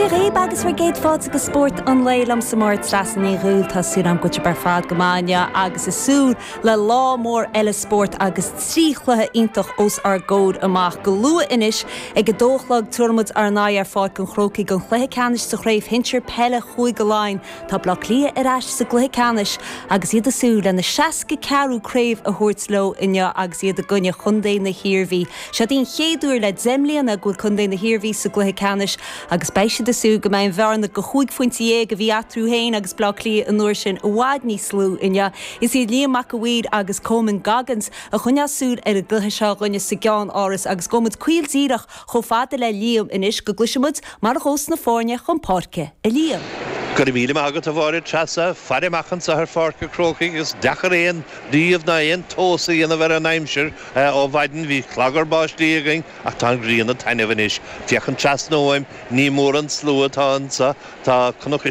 Dia dhaoib agus bhur gcéad fáilte go Spórt an Lae liomsa Máire Treasa Ní Dhubhghaill. Tá súil agam go bhfuil sibh ar fad go maith inniu agus ag súil le lá mór eile spóirt agus 3 chluiche iontach os ár gcomhair amach. Go luath anois ag a dó a chlog tabharfaidh muid ár n-aghaidh ar Pháirc an Chrócaigh don chluiche ceannais sa chraobh shinsir peile Chúige Laighean. Tá Bleá Cliath ar ais sa gcluiche ceannais agus iad ag súil lena 64ú craobh a thabhairt leo inniu agus iad i gcoinne chontae na hIarmhí. Seod í an chéad uair le 10 mbliana go bhfuil contae na hIarmhí sa gcluiche ceannais agus beidh siad ag súil go mbeidh an bhearna de chúig phointe dhéag a bhí eatarthu féin agus Bleá Cliath an uair sin i bhfad níos lú inniu. Is iad Liam Mac a' Mhaoir agus Coman Goggins a choinneos súil ar an gcluiche seo dhúinne sa gCeann-Áras agus gabhfaidh muid caol díreach chomh fada le Liam anois go gcloisfidh muid mar a ghabhfas na foirne chun páirce. A Liam. Go raibh míle maith agat a Mháire Treasa. Faire amach anseo ar Pháirc an Chrócaigh agus deacair aon ríomh ná aon tomhas a dhéanamh ar an aimsir. Ó mhaidin bhí clagar báistí againn ach tá an ghrian ag taitneamh anois. Féachaint trasna uaim, ní mór an slua atá anseo. Tá Cnoc.